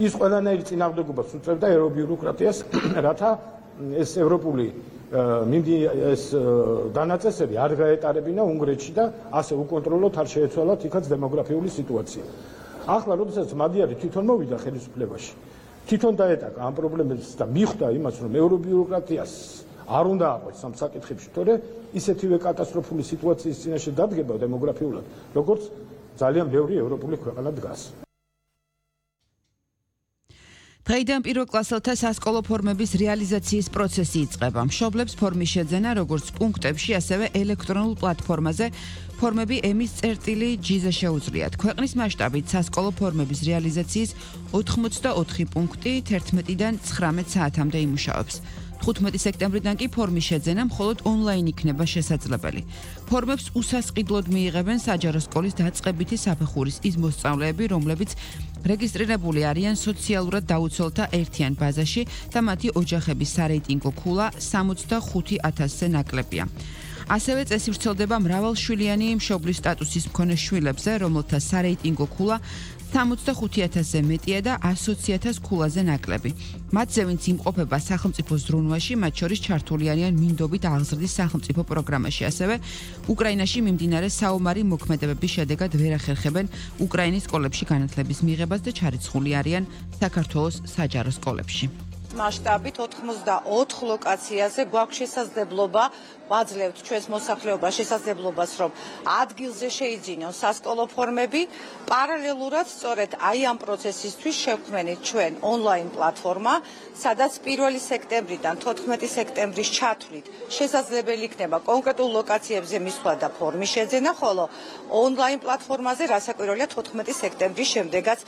ის ყველანაირი წინააღმდეგობას უწევდა ევრობიუროკრატიას, რათა ეს ევროპული ეს დანაწესები არ გაეტარებინა უნგრეთში და ასე უკონტროლოდ არ შეეცვალათ იქაც დემოგრაფიული სიტუაცია. ახლა როდესაც მადიარი თვითონ მოვიდა ხელისუფლებაში, თვითონ დაეტაკა ამ პრობლემებს და მიხვდა იმას, რომ ევრობიუროკრატიას არ უნდა აყვეს ამ საკითხებში, თორე ისეთივე კატასტროფული სიტუაციის წინაშე დადგება დემოგრაფიულად, როგორც ძალიან ბევრი ევროპული ქვეყანა დგას. დღეიდან პირველ კლასელთა სასკოლო ფორმების რეალიზაციის პროცესი იწყება. მშობლებს ფორმის შეძენა როგორც პუნქტებში, ასევე ელექტრონულ პლატფორმაზე ფორმები ემის წერტილი G-ზე შეუძლიათ. ქვეყნის მასშტაბით სასკოლო ფორმების რეალიზაციის 84 პუნქტი 11-დან 19 საათამდე იმუშავებს. 15 სექტემბრიდან კი ფორმის შეძენა მხოლოდ ონლაინ იქნება შესაძლებელი. ფორმებს უსასყიდლოდ მიიღებენ საჯარო სკოლის დაწყებითი საფეხურის ის მოსწავლეები, რომლებიც რეგისტრირებული არიან სოციალურად დაუცველთა ერთიან ბაზაში და მათი ოჯახების სარეიტინგო ქულა 65,000-ზე ნაკლებია. ასევე წესი ვრცელდება მრავალშვილიანი მშობლის სტატუსის მქონე შვილებზე, რომელთა სარეიტინგო ქულა 65,000-ზე მეტია და 120,000 ქულაზე ნაკლები. მათზე ვინც იმყოფება სახელმწიფო ზრუნვაში, მათ შორის ჩართული არიან მინდობით აღზრდის სახელმწიფო პროგრამაში. ასევე უკრაინაში მიმდინარე საომარი მოქმედებების შედეგად ვერ ახერხებენ უკრაინის სკოლებში განათლების მიღებას და ჩარიცხული არიან საქართველოს საჯარო სკოლებში. მასშტაბით 84 ლოკაციაზე გვაქვს შესაძლებლობა ვაძლევთ ჩვენს მოსახლეობას შესაძლებლობას, რომ ადგილზე შეიძინონ სასკოლო ფორმები. პარალელურად სწორედ აი ამ პროცესისთვის შევქმნით ჩვენ ონლაინ პლატფორმა, სადაც 1 სექტემბრიდან 14 სექტემბრის ჩათვლით შესაძლებელი იქნება კონკრეტულ ლოკაციებზე მისვლა და ფორმის შეძენა, ხოლო ონლაინ პლატფორმაზე რასაკვირველია 14 სექტემბრის შემდეგაც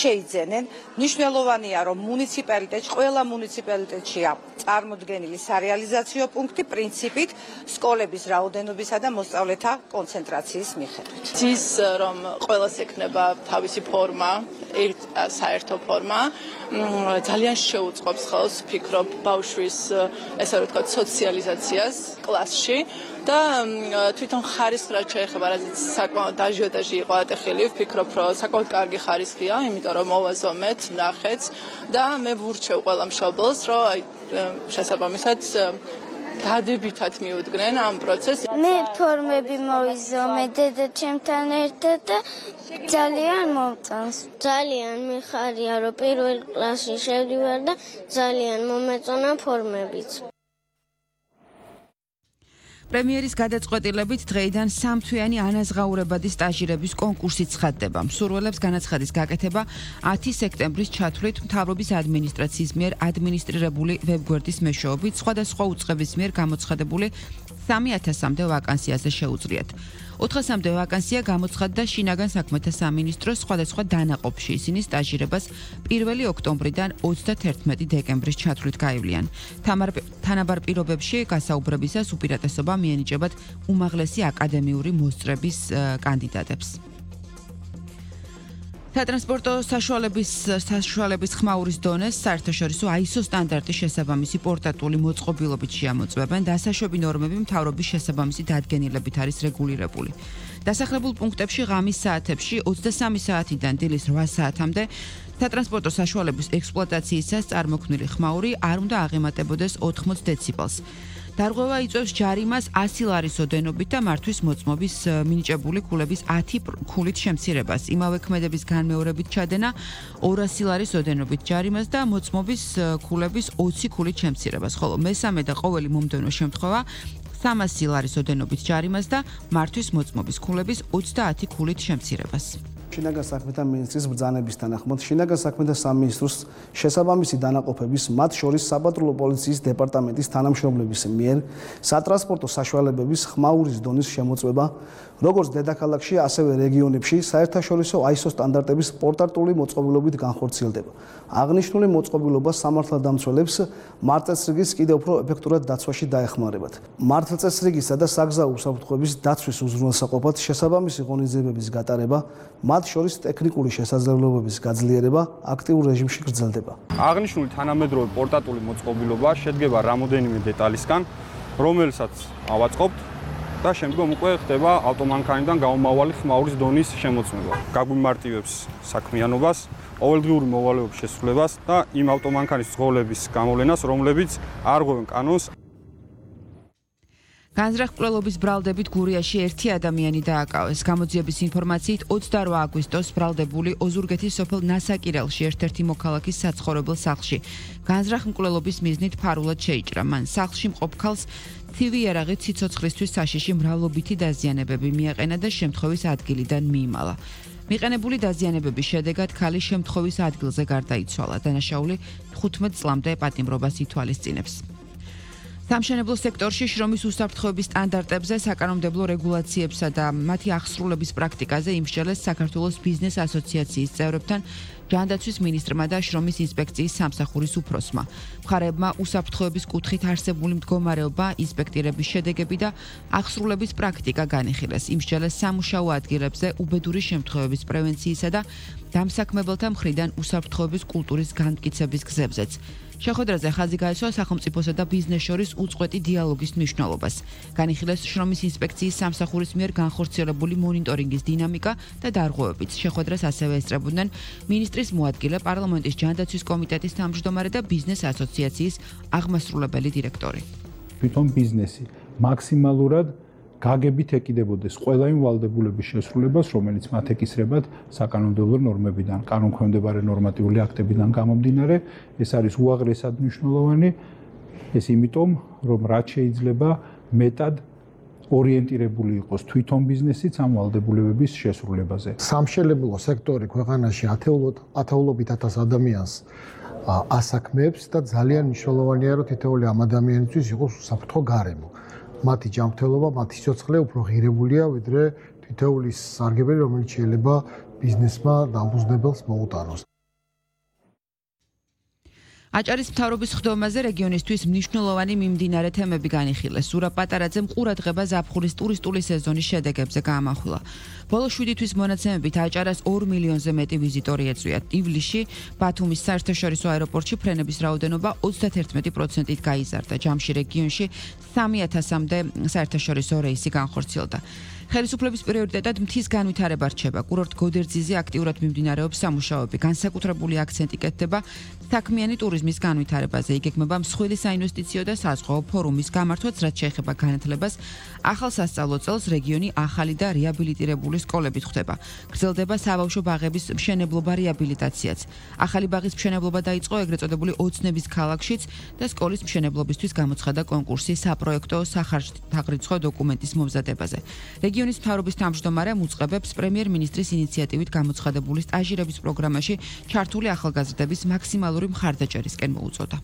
შეიძენენ. მნიშვნელოვანია, რომ მუნიციპალიტეტში ყველა მუნიციპალიტეტშია წარმოდგენილი სარეალიზაციო პუნქტი პრინციპით სკოლების რაოდენობისა და მოსწავლეთა კონცენტრაციის მიხედვით. ის რომ ყველას ექნება თავისი ფორმა, საერთო ფორმა, ძალიან შეუწყობს ხელს, ვფიქრობ, ბავშვის ესე რომ ვთქვათ, სოციალიზაციას კლასში და თვითონ ხარისხს რაც შეეხება, რაზეც საკმაოდ აჟიოტაჟი იყო ატეხილი, ვფიქრობ, რომ საკმაოდ კარგი ხარისხია, იმიტომ რომ მოვაზომეთ, ვნახეთ და მე ვურჩევ ყველა მშობელს, რომ შესაბამისად დადებითად მიუდგნენ ამ პროცესს. მე ფორმები მოვიზომე დედაჩემთან ერთად და ძალიან მომწონს. ძალიან მიხარია, რომ პირველ კლასში შევდივარ და ძალიან მომეწონა ფორმებიც. პრემიერის გადაწყვეტილებით დღეიდან სამთვიანი ანაზღაურებადი სტაჟირების კონკურსი ცხადდება. მსურველებს განაცხადის გაკეთება 10 სექტემბრის ჩათვლით მთავრობის ადმინისტრაციის მიერ ადმინისტრირებული ვებგვერდის მეშვეობით სხვადასხვა უწყების მიერ გამოცხადებული 3,000-მდე ვაკანსიაზე შეუძლიათ. 400-მდე ვაკანსია გამოცხადდა შინაგან საქმეთა სამინისტროს სხვადასხვა დანაყოფში. ისინი სტაჟირებას 1 ოქტომბრიდან 31 დეკემბრის ჩათვლით გაივლიან. თანაბარ პირობებში გასაუბრებისას უპირატესობა მიენიჭებათ უმაღლესი აკადემიური მოსწრების კანდიდატებს. სატრანსპორტო საშუალების ხმაურის დონეს საერთაშორისო ISO სტანდარტის შესაბამისი პორტატული მოწყობილობით შეამოწმებენ. დასაშვები ნორმები მთავრობის შესაბამისი დადგენილებით არის რეგულირებული. დასახლებულ პუნქტებში ღამის საათებში 23 საათიდან დილის 8 საათამდე სატრანსპორტო საშუალების ექსპლუატაციისას წარმოქმნილი ხმაური არ უნდა აღემატებოდეს 80 დეციბელს. დარღვევა იწვევს ჯარიმას 100 ლარის ოდენობით და მართვის მოწმობის მინიჭებული ქულების 10 ქულით შემცირებას. იმავე ქმედების განმეორებით ჩადენა 200 ლარის ოდენობით ჯარიმას და მოწმობის ქულების 20 ქულით შემცირებას. ხოლო მესამე და ყოველი მომდევნო შემთხვევა 300 ლარის ოდენობით ჯარიმას და მართვის მოწმობის ქულების 30 ქულით შემცირებას. შინაგან საქმეთა მინისტრის ბრძანების თანახმად შინაგან საქმეთა სამინისტროს შესაბამისი დანაყოფების, მათ შორის საპატრულო პოლიციის დეპარტამენტის თანამშრომლების მიერ სატრანსპორტო საშუალებების ხმაურის დონის შემოწმება, როგორც დედაქალაქში, ასევე რეგიონებში საერთაშორისო ISO სტანდარტების პორტატული მოწყობილობით განხორციელდება. აღნიშნული მოწყობილობა სამართალდამცველებს მართლწესრიგის კიდევ უფრო ეფექტურად დაცვაში დაეხმარებათ. მართლწესრიგისა და საგზაო უსაფრთხოების დაცვის უზრუნველსაყოფად შესაბამისი ღონისძიებების გატარება, მათ შორის ტექნიკური შესაძლებლობების გაძლიერება აქტიურ რეჟიმში გრძელდება. აღნიშნული თანამედროვე პორტატული მოწყობილობა შედგება რამოდენიმე დეტალისგან, რომელსაც ავაწყობთ და შემდგომ უკვე ხდება ავტომანქანიდან გამომავალი ხმაურის დონის შემოწმება. გაგვიმარტივებს საქმიანობას, ყოველდღიური მოვალეობის შესრულებას და იმ ავტომანქანის ძღოლების გამოვლენას, რომლებიც არ ღვევენ კანონს. განზრახ-მკვლელობის ბრალდებით გურიაში ერთი ადამიანი დააკავეს. გამოძიების ინფორმაციით 28 აგვისტოს ბრალდებული ოზურგეთის სოფელ ნასაკირელში ერთ-ერთი მოქალაქის საცხოვრებელ სახლში განზრახ-მკვლელობის მიზნით ფარულად შეიჭრა. მან სახლში მყოფ ქალს თივი იარაღით სიცოცხლისთვის საშიში მრავლობითი დაზიანებები მიაყენა და შემთხვევის ადგილიდან მიიმალა. მიყენებული დაზიანებების შედეგად ქალი შემთხვევის ადგილზე გარდაიცვალა. დანაშაული 15 წლამდე პატიმრობას ითვალისწინებს. სამშენებლო სექტორში შრომის უსაფრთხოების სტანდარტებზე, საკანონმდებლო რეგულაციებსა და მათი აღსრულების პრაქტიკაზე იმსჯელეს საქართველოს ბიზნეს ასოციაციის წევრებთან ჯანდაცვის მინისტრმა და შრომის ინსპექციის სამსახურის უფროსმა. მხარეებმა უსაფრთხოების კუთხით არსებული მდგომარეობა, ინსპექტირების შედეგები და აღსრულების პრაქტიკა განიხილეს. იმსჯელეს სამუშაო ადგილებზე უბედური შემთხვევების პრევენციისა და დამსაქმებელთა მხრიდან უსაფრთხოების კულტურის განმტკიცების გზებზეც. შეხვედრაზე ხაზი გაესვა სახელმწიფოსა და ბიზნეს შორის უწყვეტი დიალოგის მნიშვნელობას. განიხილეს შრომის ინსპექციის სამსახურის მიერ განხორციელებული მონიტორინგის დინამიკა და დარღვევებიც. შეხვედრას ასევე ესწრებოდნენ მინისტრის მოადგილე, პარლამენტის ჯანდაცვის კომიტეტის თავმჯდომარე და ბიზნეს ასოციაციის აღმასრულებელი დირექტორი. თვითონ ბიზნესი მაქსიმალურად გაგებით ეკიდებოდეს ყველა იმ ვალდებულების შესრულებას, რომელიც მათ ეკისრებათ საკანონმდებლო ნორმებიდან, კანონქვემდებარე ნორმატიული აქტებიდან გამომდინარე. ეს არის უაღრესად მნიშვნელოვანი, ეს იმიტომ, რომ რაც შეიძლება მეტად ორიენტირებული იყოს თვითონ ბიზნესიც ამ ვალდებულებების შესრულებაზე. სამშენებლო სექტორი ქვეყანაში ათეულობით ათას ადამიანს ასაქმებს და ძალიან მნიშვნელოვანია, რომ თითოეული ამ ადამიანისთვის იყოს უსაფრთხო გარემო. მათი ჯანმრთელობა, მათი სიცოცხლე უფრო ღირებულია, ვიდრე თითოეული სარგებელი, რომელიც შეიძლება ბიზნესმა დამფუძნებელს მოუტანოს. აჭარის მთავრობის ხდომაზე რეგიონისთვის მნიშვნელოვანი მიმდინარე თემები განიხილეს. ზურაბ პატარაძემ ყურადღება ზაფხულის ტურისტული სეზონის შედეგებზე გაამახვილა. ბოლო 7 თვის მონაცემებით აჭარას 2 მილიონზე მეტი ვიზიტორი ეწვია. ივლისში ბათუმის საერთაშორისო აეროპორტში ფრენების რაოდენობა 31%-ით გაიზარდა. ჯამში რეგიონში 3000-მდე საერთაშორისო რეისი განხორციელდა. ხელისუფლების პრიორიტეტად მთის განვითარება რჩება. კურორტ გოდერძიზე აქტიურად მიმდინარეობს სამუშაოები. განსაკუთრებული აქცენტი კეთდება საქმიანი ტურიზმის განვითარებაზე. იგეგმება მსხვილი საინვესტიციო და საზღვაო ფორუმის გამართვაც, რაც შეეხება განათლებას. ახალ სასწავლო წელს რეგიონი ახალი და რეაბილიტირებული სკოლებით ხვდება. გრძელდება საბავშვო ბაღების მშენებლობა რეაბილიტაციაც. ახალი ბაღის მშენებლობა დაიწყო ეგრეთ წოდებული ოცნების ქალაქშიც და სკოლის მშენებლობისთვის გამოცხადა კონკურსი საპროექტო სახარჯთაღრიცხვა დოკუმენტის მომზადებაზე. რეგიონის მთავრობის თავმჯდომარემ უწყებებს პრემიერ-მინისტრის ინიციატივით გამოცხადებული სტაჟირების პროგრამაში ჩართული ახალგაზრდების მაქსიმალური მხარდაჭერისკენ მოუწოდა.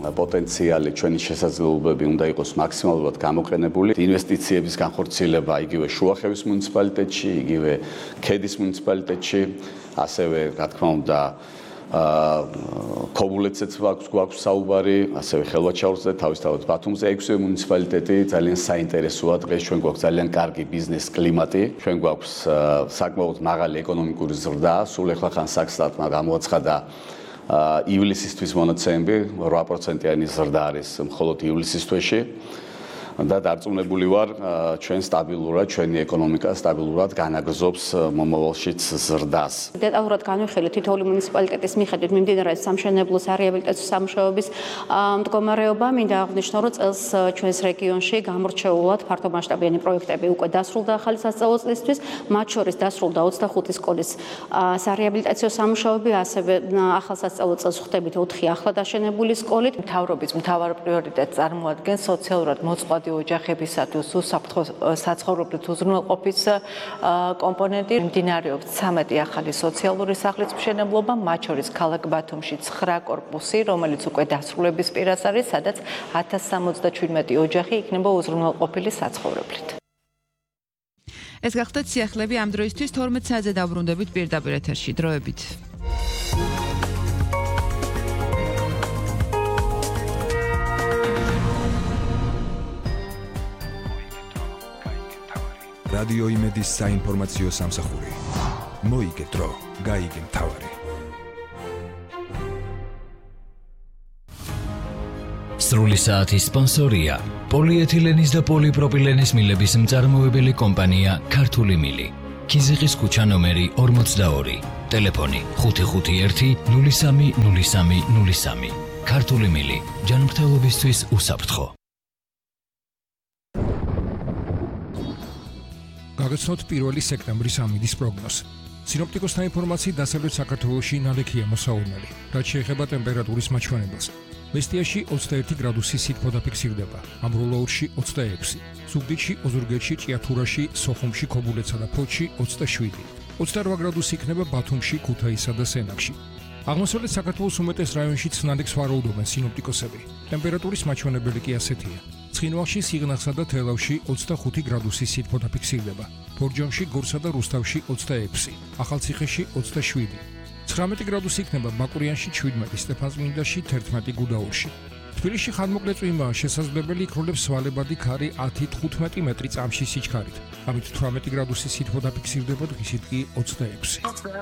პოტენციალი ჩვენი შესაძლებლობები უნდა იყოს მაქსიმალურად გამოყენებული. ინვესტიციების განხორციელება იგივე შუახევის მუნიციპალიტეტში, იგივე ქედის მუნიციპალიტეტში, ასევე რა თქმა უნდა ქობულეთზეც გვაქვს საუბარი, ასევე ხელვაჩაურზე, თავისთავად ბათუმზე 6 მუნიციპალიტეტი ძალიან საინტერესოა. დღეს ჩვენ გვაქვს ძალიან კარგი ბიზნეს კლიმატი, ჩვენ გვაქვს საკმაოდ მაღალი ეკონომიკური ზრდა, სულ ეხლა ხან საქსტატმა გამოაცხადა ივლისისთვის მონაცემები 8%-იანი ზრდა არის მხოლოდ ივლისის თვეში და დარწმუნებული ვარ ჩვენ სტაბილურად ჩვენი ეკონომიკა სტაბილურად განაგრძობს მომავალშიც ზრდას. დეტალურად განვიხილეთ თითოეული მუნიციპალიტეტის მიხედვით მიმდინარე სამშენებლო რეაბილიტაციო სამუშაოების მდგომარეობა. მინდა აღნიშნო, რომ წელს ჩვენს რეგიონში გამორჩეულად ფართომასშტაბიანი პროექტები უკვე დასრულდა ახალი სასწავლო წლისთვის, მათ შორის დასრულდა 25 სკოლის სარეაბილიტაციო სამუშაოები, ასევე ახალ სასწავლო წელს ხვდებით 4 ახლად აშენებული სკოლით. მთავრობის მთავარ პრიორიტეტს წარმოადგენს სოციალურად მოწყვლადი ოჯახებისათვის უსაფრთხო საცხოვრებლით უზრუნველყოფის კომპონენტი. მიმდინარეობს 13 ახალი სოციალური სახლის მშენებლობა, მათ შორის ქალაქ ბათუმში 9 კორპუსი, რომელიც უკვე დასრულების პირას არის, სადაც 1077 ოჯახი იქნება უზრუნველყოფილი საცხოვრებლით. ეს გახდათ სიახლეები ამ დროისთვის 12 საათზე დაბრუნდებით პირდაპირ ეთერში. დროებით. რადიო იმედის საინფორმაციო სამსახური. მოიგე დრო, გაიგე მთავარი. სრული საათის სპონსორია პოლიეთილენის და პოლიპროპილენის მილების მწარმოებელი კომპანია ქართული მილი. ქიზიყის ქუჩა ნომერი 42. ტელეფონი 551 030303. ქართული მილი ჯანმრთელობისთვის უსაფრთხო. გაგაცნოთ 1 სექტემბრის ამინდის პროგნოზი. სინოპტიკოსთა ინფორმაციით დასავლეთ საქართველოში ნალექია მოსაურნელი, რაც შეეხება ტემპერატურის მაჩვენებელს. მესტიაში 21 გრადუსი სითბო დაფიქსირდება, ამბროლაურში 26, ზუგდიდში, ოზურგეთში, ჭიათურაში, სოხუმში, ქობულეთსა და ფოთში 27, 28 გრადუსი იქნება ბათუმში, ქუთაისსა და სენაკში. აღმოსავლეთ საქართველოს უმეტეს რაიონშიც ნალექს ვარაუდობენ სინოპტიკოსები. ტემპერატურის მაჩვენებელი კი ასეთია. ცხინვალში, სიღნაღსა და თელავში 25 გრადუსი სითბო დაფიქსირდება, ბორჯომში, გორსა და რუსთავში 26, ახალციხეში 27. 19 გრადუსი იქნება ბაკურიანში 17, სტეფანწმინდაში 11 გუდაურში. თბილისში ხანმოკლე წვიმაა შესაძლებელი, იქროლებს სვალებადი ქარი 10-15 მეტრი წამში სიჩქარით. ამით 18 გრადუსი სითბო დაფიქსირდება, დღისით კი 26.